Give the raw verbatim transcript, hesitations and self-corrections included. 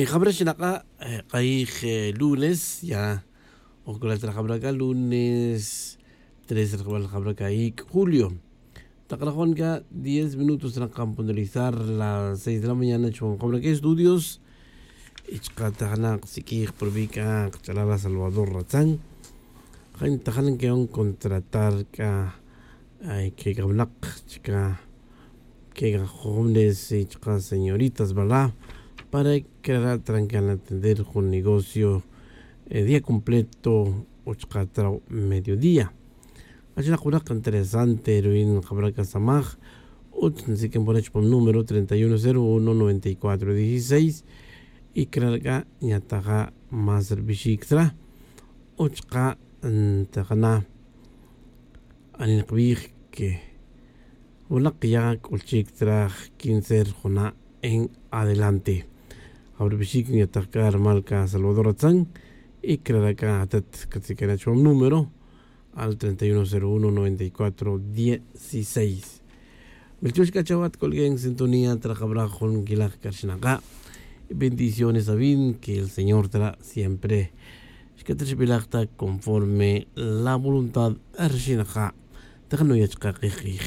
Jabra xinak'a' k'ayij lunes ya. Ojk'ulal ta la jabra k'a lunes tres rajbal jabra k'a iik' julio. Tak rajon k'a diez minutos naqan puntualizar la seis de la mañana chuwan jabra k'a estudios. Y chaka' ta jana' qsik'ij purbi' k'a qach'alal la salvador ratzan. Jay ta jana' ke'on contratar k'a kek'awinaq chaka' kek'ajovenes y chaka' señoritas verdad, para que rara' trankan atender jun negocio día completo o chaka' traw mediodía. Achinaq winaq interesante ruyin jabra k'a samaj. Utz nsik'in pona chupam número treinta y uno cero uno noventa y cuatro dieciseis. Y crara' k'a nyataja' más rbixic tzra o chaka' ntajana' anin kbij que winaq ya k'ulchic tzra quince rjuna' en adelante. Jabra rbixic nyataj k'a rumal k'a salvador atzan. Y crara' k'a atat catziq'uena' chupam número al treinta y uno cero uno noventa y cuatro dieciseis. Milchux k'a chawat colgué en sintonía trajabra jun quilaj k'a rxinaka'. Bendiciones avin que el señor tra siempre xcatrixbilaj ta conforme la voluntad rxinaka'. Tajanoya chaka' kij kij.